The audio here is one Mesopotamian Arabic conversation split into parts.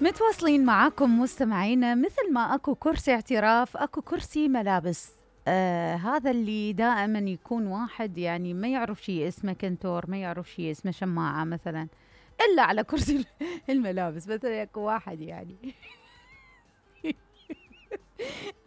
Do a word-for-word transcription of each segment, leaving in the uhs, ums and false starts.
متواصلين معاكم مستمعينا. مثل ما اكو كرسي اعتراف اكو كرسي ملابس. آه هذا اللي دائما يكون واحد يعني ما يعرف شيء اسمه كنتور، ما يعرف شيء اسمه شماعة مثلا، الا على كرسي الملابس مثلا اكو واحد يعني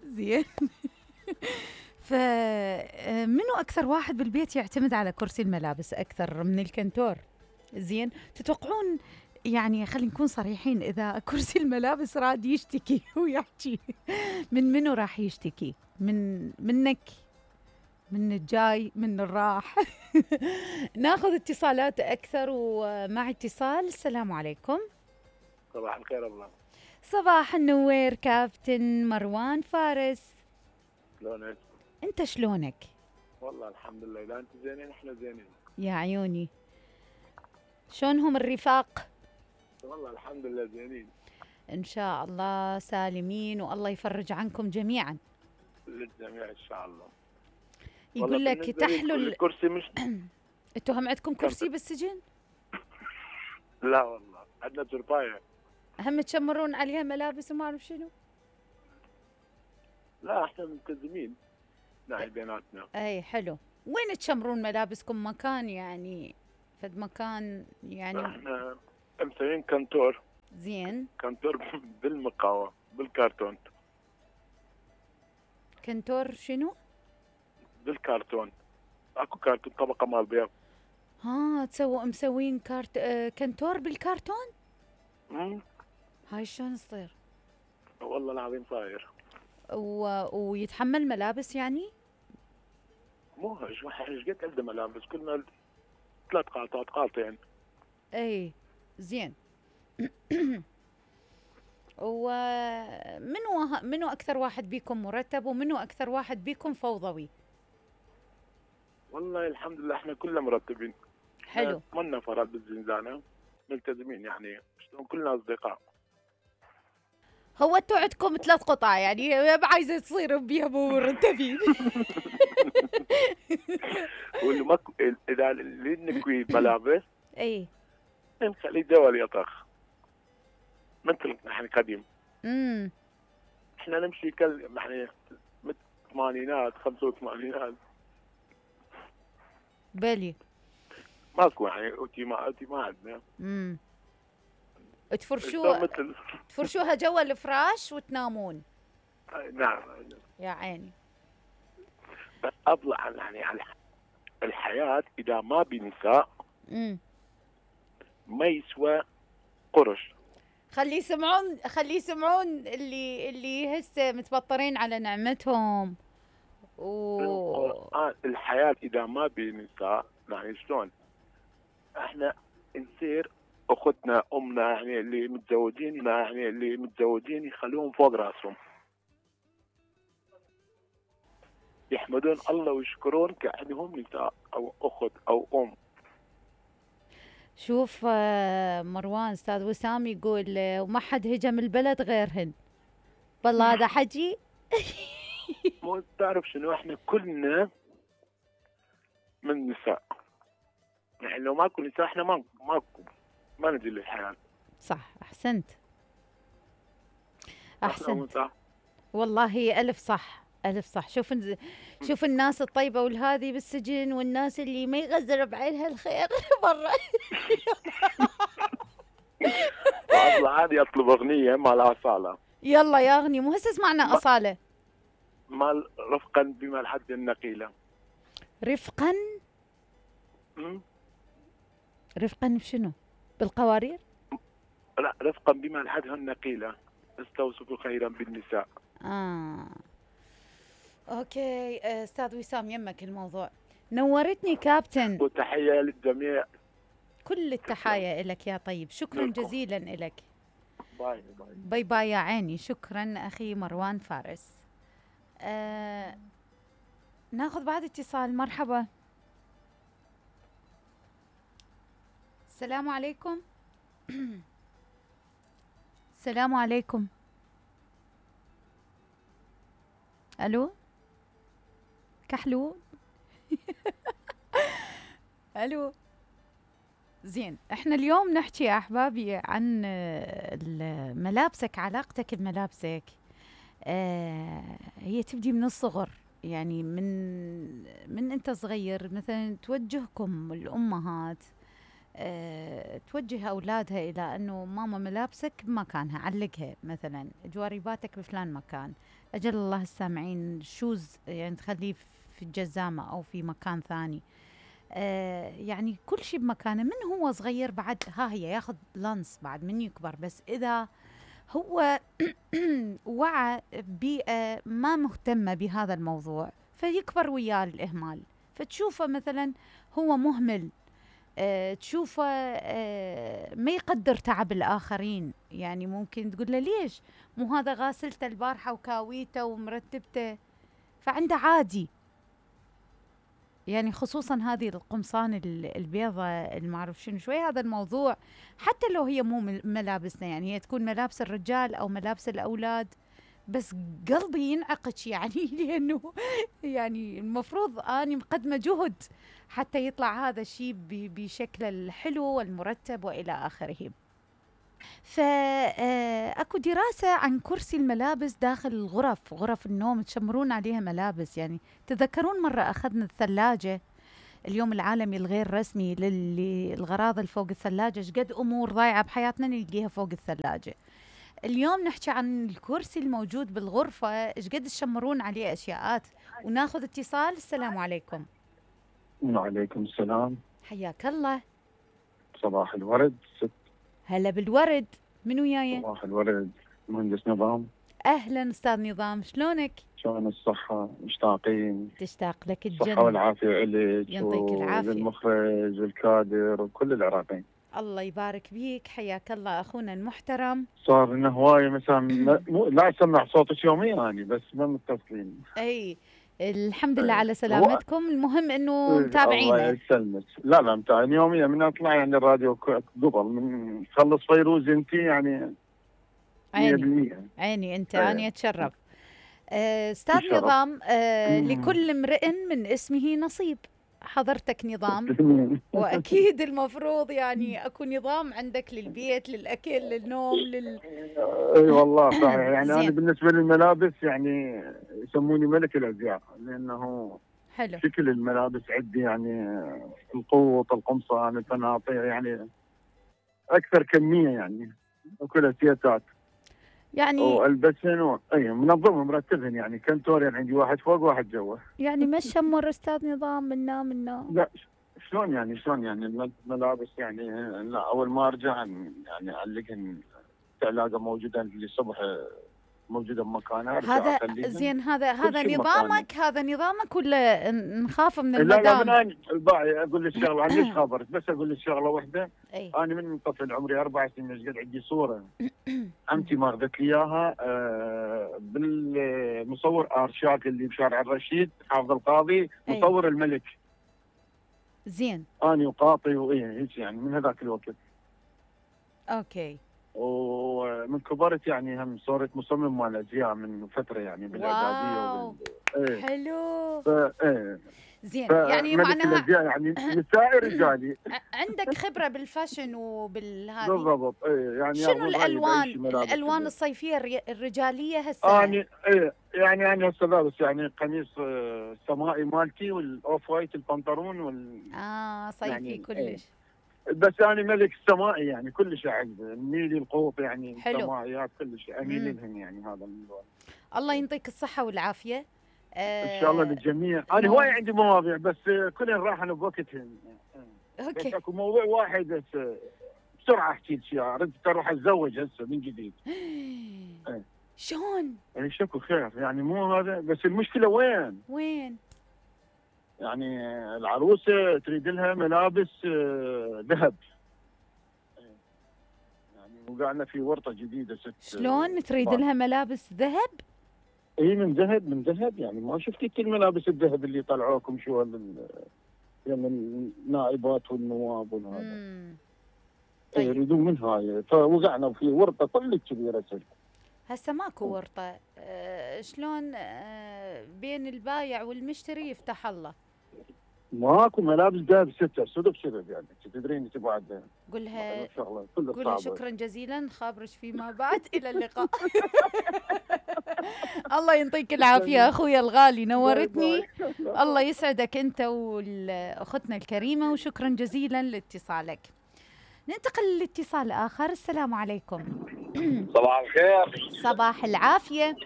زين. فمنو اكثر واحد بالبيت يعتمد على كرسي الملابس اكثر من الكنتور؟ زين، تتوقعون يعني خلينا نكون صريحين، اذا كرسي الملابس راد يشتكي ويحكي من منو راح يشتكي؟ من منك، من الجاي، من الراح؟ ناخذ اتصالات اكثر، ومع اتصال. السلام عليكم. صباح الخير. الله صباح النوير كابتن مروان فارس. شلونك؟ انت شلونك؟ والله الحمد لله، اذا انت زينين احنا زينين. يا عيوني، شلونهم الرفاق؟ والله الحمد لله زينين ان شاء الله سالمين، والله يفرج عنكم جميعا. للجميع ان شاء الله. يقول لك تحلو الكرسي مش انتوا هم عندكم كرسي بالسجن؟ لا والله عندنا تربايه. هم تشمرون عليها ملابس وما اعرف شنو؟ لا احنا ملتزمين ناعي بيناتنا. اي حلو. وين تشمرون ملابسكم؟ مكان يعني فد مكان يعني؟ احنا مسويين كنتور. زين. كنتور بالمقاوة بالكرتون. كنتور شنو؟ بالكرتون. اكو كرتون طبقة مال بيض. ها تسووا مسوين كارت آه كنتور بالكرتون؟ امم هاي شلون تصير؟ والله العظيم صاير. و... ويتحمل ملابس يعني؟ مو ايش ايش قد عنده ملابس، كلنا ثلاث قاطات قاطين. اي زين. ومنو منو اكثر واحد بيكم مرتب، ومنو اكثر واحد بيكم فوضوي؟ والله الحمد لله احنا كلنا مرتبين. حلو. ثمان نفرات بالزنزانه ملتزمين، يعني شلون كلنا اصدقاء. هو انتوا عندكم ثلاث قطع يعني ما عايزه تصيروا بيها مو مرتبين؟ واللي ماكو اذا اللي نكوي ملابس اي نخلي دول يطخ مثل نحن قديم. امم احنا نمشي كل يعني مثل الثمانينات خمسة وثمانينات. بلي ماكو يعني اوتي ما اوتي ما عندنا. امم تفرشوها مثل تفرشوها جوا الفراش وتنامون. نعم يا عيني. بس اطلع يعني الحياة اذا ما بنساء امم ما يسوى قرش. خلي يسمعون خلي يسمعون اللي اللي هسه متبطرين على نعمتهم. و الحياة اذا ما بنساء يعني شلون احنا نصير اخذنا امنا يعني اللي متزوجين يعني اللي متزوجين يخلوهم فوق راسهم، يحمدون الله ويشكرون كأنهم نساء او اخت او ام. شوف مروان، استاذ وسام يقول وما حد هجم البلد غيرهن. والله هذا حكي. مو تعرف شنو، احنا كلنا من نساء، يعني لو ماكو نساء احنا ما ماكو ما ندري للحياة. صح، احسنت احسنت صح. والله الف صح الف صح. شوف شوف الناس الطيبه والهذي بالسجن، والناس اللي ما يغزر بعينها الخير برا. والله عادي اطلب اغنيه مال اصاله. يلا يا اغني، مو هسه سمعنا اصاله مال رفقا بما الحد النقيله. رفقا م? رفقا بشنو؟ بالقوارير؟ لا، رفقا بما الحد النقيله استوصف خيرا بالنساء. اه اوكي. استاذ وسام يمك الموضوع. نورتني كابتن، وتحيه للجميع. كل التحايا لك يا طيب. شكرا لكم. جزيلا لك. باي باي باي باي يا عيني. شكرا اخي مروان فارس. آه ناخذ بعد اتصال. مرحبا. السلام عليكم. السلام عليكم. الو كحلو. الو زين، احنا اليوم نحكي يا احبابي عن آه، ال- ملابسك، علاقتك بملابسك. آه، هي تبدي من الصغر، يعني من من انت صغير مثلا توجهكم الامهات، آه، توجه اولادها الى انه ماما ملابسك بمكانها، علقها مثلا جواريباتك بفلان مكان، اجل الله السامعين شوز يعني تخليه في الجزامه او في مكان ثاني. آه، يعني كل شيء بمكانه من هو صغير، بعد ها هي ياخذ لانس بعد من يكبر، بس اذا هو وعى بيئة ما مهتمة بهذا الموضوع فيكبر وياه الإهمال، فتشوفه مثلا هو مهمل، أه تشوفه أه ما يقدر تعب الآخرين. يعني ممكن تقول له ليش مو هذا غاسلته البارحة وكاويته ومرتبته، فعنده عادي. يعني خصوصا هذه القمصان ال- البيضة المعرف شنو شوي هذا الموضوع، حتى لو هي مو مل- ملابسنا، يعني هي تكون ملابس الرجال أو ملابس الأولاد، بس قلبي ينعقد يعني لأنه يعني المفروض أني مقدمة جهد حتى يطلع هذا الشيء ب- بشكله الحلو والمرتب وإلى آخره. فأكو دراسة عن كرسي الملابس داخل الغرف، غرف النوم تشمرون عليها ملابس. يعني تذكرون مرة أخذنا الثلاجة، اليوم العالمي الغير رسمي للغراض الفوق الثلاجة، شقد أمور ضايعة بحياتنا نلقيها فوق الثلاجة. اليوم نحكي عن الكرسي الموجود بالغرفة، شقد تشمرون عليه أشياءات. وناخذ اتصال. السلام عليكم. وعليكم السلام. حياك الله. صباح الورد ست. هلا بالورد، من وياي؟ صباح الورد مهندس نظام. أهلا أستاذ نظام، شلونك؟ شلون الصحة؟ مشتاقين. تشتاق لك الصحة الجنة. والعافية إلك يعطيك العافية. وللمخرج والكادر وكل العراقيين. الله يبارك بيك، حياك الله أخونا المحترم. صار لنا هواية مثلا مو لا أسمع صوتك يوميا يعني، بس ما متصلين. أي الحمد لله إيه. على هو سلامتكم، المهم إنه إيه، الله متابعينا. يسلمك. لا لا متابعين يوميا من أطلع يعني الراديو ك- قبل من تخلص فيروز أنت يعني مية عيني بالمية. عيني أنت، إيه. أنا أتشرف. آه، أستاذ الشرف. نظام، آه، مم. لكل امرئ من اسمه نصيب. حضرتك نظام، وأكيد المفروض يعني أكو نظام عندك للبيت، للأكل، للنوم، لل اي والله صحيح. يعني انا زين، بالنسبه للملابس يعني يسموني ملك الازياء، لانه حلو. شكل الملابس عندي يعني القوط، القمصان، الفناطيل، يعني اكثر كميه يعني، وكلها سياسات يعني والبسهن و... اي منظمهم مرتبهن يعني كنتور، يعني عندي واحد فوق واحد جوا. يعني ما الشمر أستاذ نظام، منا منا لا ش- شلون يعني شلون يعني الملابس يعني، لا اول ما ارجع يعني اعلقهن ثلاجه موجوده عندي الصبح، موجوده بمكانها، ارجع هذا اخليهن زين، هذا كل هذا شيء بمكانه. نظامك، هذا نظامك ولا ن- نخاف من لا لا من المدام؟ أنا الباعي اقول لك شغله، انا ليش خابرت، بس اقول لك شغله واحده. اي انا من طفل عمري اربع سنين ايش قد عندي صوره عمتي ماخذت لي اياها آه بالمصور ارشاد اللي بشارع الرشيد حافظ القاضي، اي مصور الملك. زين، اني وقاطي وايه هيك يعني من هذاك الوقت. اوكي، ومن كبرت يعني هم صرت مصمم مال ازياء من فتره يعني بالاعداديه واو، وبال ايه. حلو. ف ايه زين، يعني فملك معناها الازياء يعني نسائي رجالي. ع- عندك خبرة بالفاشن وبالهذه. بالضبط ايه، يعني شنو ياخذ رايي باي الألوان، شيء ملابس الألوان كذا. الصيفية الري- الرجالية هالسنة؟ اني ايه يعني انا هسه لابس يعني قميص آه، سمائي مالتي والاوف وايت البنطلون وال اه صيفي يعني ايه. كلش. بس انا ملك السمائي يعني كل شيء عندي، النيلي القوط يعني حلو. السمائيات كل شيء اميل مم. لهم يعني هذا الموضوع. الله يعطيك الصحة والعافية. ان شاء الله آه للجميع. انا مو هواي عندي مواضيع بس آه، كلهن راحن بوقتهم. بس اوكي. اكو موضوع واحد بس آه، بسرعه احكي لك اياه. ردت اروح اتزوج هسه من جديد. إيه. شلون؟ يعني شكو خير يعني مو هذا، بس المشكله وين؟ وين؟ يعني العروسه تريد لها ملابس آه، ذهب. يعني وقعنا في ورطه جديده ست. شلون تريد بعد. لها ملابس ذهب؟ اي من ذهب من ذهب يعني ما شفتي كل ملابس الذهب اللي طلعوكم شو هال يعني النائبات والنواب وهذا. امم إيه، طيب، يريدون من هاي، فوقعنا في ورطه كلش كبيره ست. هسه ماكو ورطة. أه شلون أه بين البايع والمشتري يفتح الله. ماكو ملابس ذهب ستة صدق صدق يعني تدرين انت بعد قولها شغله كلها قولها صعبة. شكرا جزيلا، خابرش فيما بعد. الى اللقاء. الله يعطيك العافيه اخويا الغالي، نورتني. الله يسعدك انت واختنا الكريمه، وشكرا جزيلا لاتصالك. ننتقل لاتصال اخر. السلام عليكم. صباح الخير. صباح العافيه.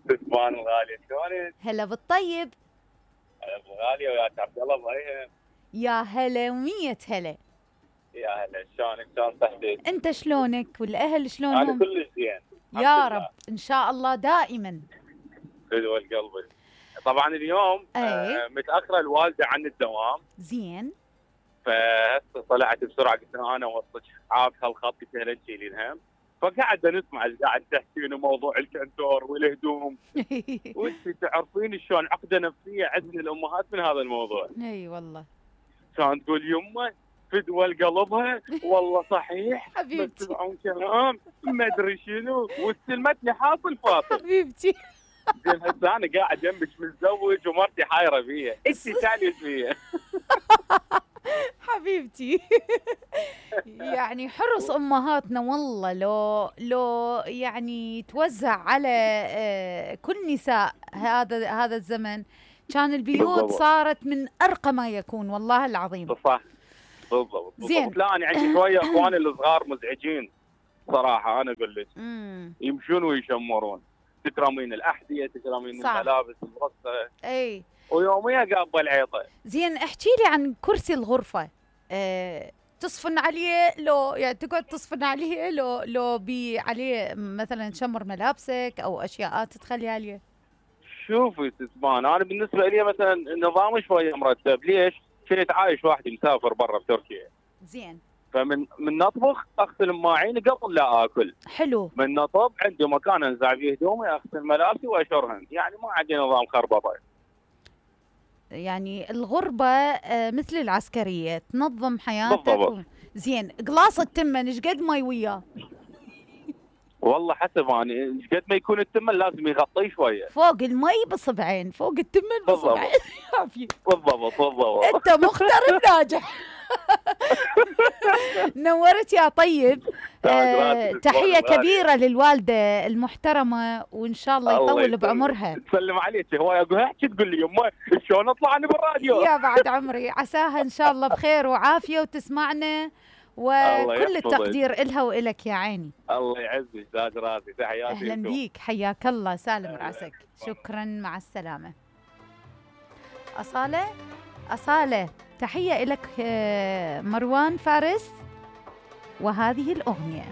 سلمان الغالي شلونك؟ هلا بالطيب. هلا بالغالي ويا عبد الله ابراهيم. يا هلا ومية هلا. يا هلا شلونك؟ شلون صحتك؟ انت شلونك والاهل انا شلونهم؟ كلش زين يا رب ان شاء الله دائما. فدوى القلب. طبعا اليوم أي. آه متاخره الوالده عن الدوام، زين. فهسه طلعت بسرعه قلت لها انا وصلت عارف هالخط قلت لها لا تشيلين هم، فقاعد نسمع قاعد تحكي لنا موضوع الكنتور والهدوم. وانت تعرفين شلون عقده نفسيه عندنا الامهات من هذا الموضوع. اي والله. كانت تقول يمه فدوى لقلبها والله صحيح حبيبتي. بس تسمعون كلام ما ادري شنو، واستلمت لي حاصل فاصل. حبيبتي. زين هسه انا قاعد جنبك متزوج ومرتي حايره فيا، انت تعالي فيا. حبيبتي. يعني حرص امهاتنا والله، لو لو يعني توزع على آه، كل نساء هذا هذا الزمن كان البيوت بالضبط. صارت من ارقى ما يكون والله العظيم. صح بالضبط. زين. لا انا عندي شويه اخواني الصغار مزعجين صراحه، انا اقول لك امم يمشون ويشمرون، تكرمين الاحذيه تكرمين صح. الملابس المرصه اي. ويوميا قابه العيطه. زين احكي لي عن كرسي الغرفه. أه تصفن عليه لو يعني تقعد تصفن عليه لو لو بي عليه مثلا تشمر ملابسك او اشياءات تخلي عليه؟ شوفي سسبان، انا بالنسبه لي مثلا النظام شويه مرتب، ليش؟ كنت عايش وحدي مسافر برا بتركيا. زين. فمن من نطبخ اغسل مواعيني قبل لا اكل. حلو. من نطب عندي مكان انزع فيه هدومي اغسل ملابسي واشرهن، يعني ما عندي نظام خربطه. يعني الغربة آه، مثل العسكرية، تنظم حياتك. بالضبط. و... زين قلاص التمن ايش قد مي وياه؟ والله حسب انا ايش قد ما يكون التمن لازم يغطيه شويه. فوق المي بصبعين، فوق التمن بالضبط. بصبعين. عافية. بالضبط بالضبط. انت مغترب ناجح. نورت يا طيب. آه تحية كبيرة للوالدة المحترمة، وإن شاء الله الله يطول يسلمك. بعمرها. تسلم عليك. هو اقول احكي تقول لي يمه شلون اطلع انا بالراديو؟ يا بعد عمري، عساها إن شاء الله بخير وعافية وتسمعنا، وكل التقدير إلها وإلك يا عيني. الله يعزك زاد راسي. تحياتي. أهلا بيك، حياك الله، سالم راسك. شكرا، مع السلامة. أصالة أصالة تحية إلك آه، مروان فارس، وهذه الأغنية.